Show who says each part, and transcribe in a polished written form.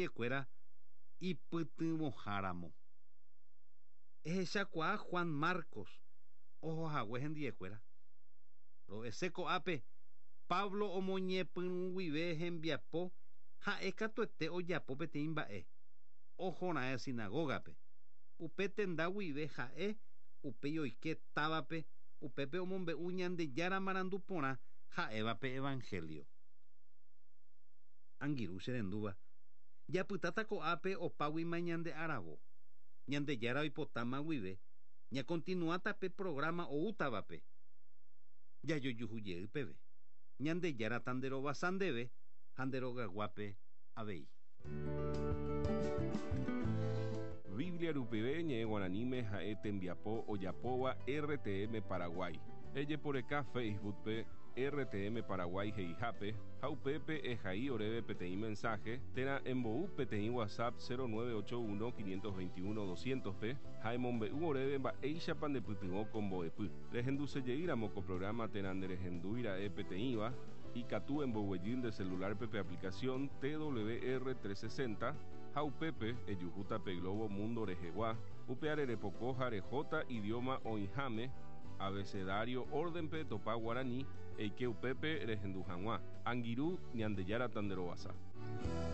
Speaker 1: Ekuéra ipytyvõháramo. Ehechakuaa Juan Marcos ohohague hendiekuéra. Ro'ese ko'ápe Pablo omoñepyrũ guive hembiapo ha'e katuete ojapo peteĩ mba'e, ohora'ẽ sinagógape. Upe tenda guive ha'e upéi oike távape upépe omombe'u Ñandejára marandu porã ha'éva pe evangelio. Angirũ che rendúva, japytáta ko'ápe opáguima ñande aravo. Ñandejára oipotáma guive, ñakontinuáta pe programa oútavape. Jajojuhu jey peve. Ñandejára tanderovasa ndéve ha nde rogaguápe avei.
Speaker 2: Biblia rupive ñe'ẽ guaraníme ha'e tembiapo ojapóva RTM Paraguay. Ejeporeka Facebook-pe RTM Paraguay he'ihápe ha upépe ehai oréve peteĩ mensaje térã embou peteĩ WhatsApp 0981 521 200-pe ha emombe'u oréve mba'éichapa ndepytyvõ ko mbo'epy. Rehendusejeýramo ko programa térã nderehendúira'e peteĩva, ikatu emboguejy nde celular-pe pe aplicación TWR 360 ha upépe ejuhúta pe globo mundo rehegua, upe arerepoko ha rehóta idioma oĩháme, abecedario orden-pe etopa guarani, eike upépe rehendu hag̃ua. Angirũ, Ñandejára tanderovasa.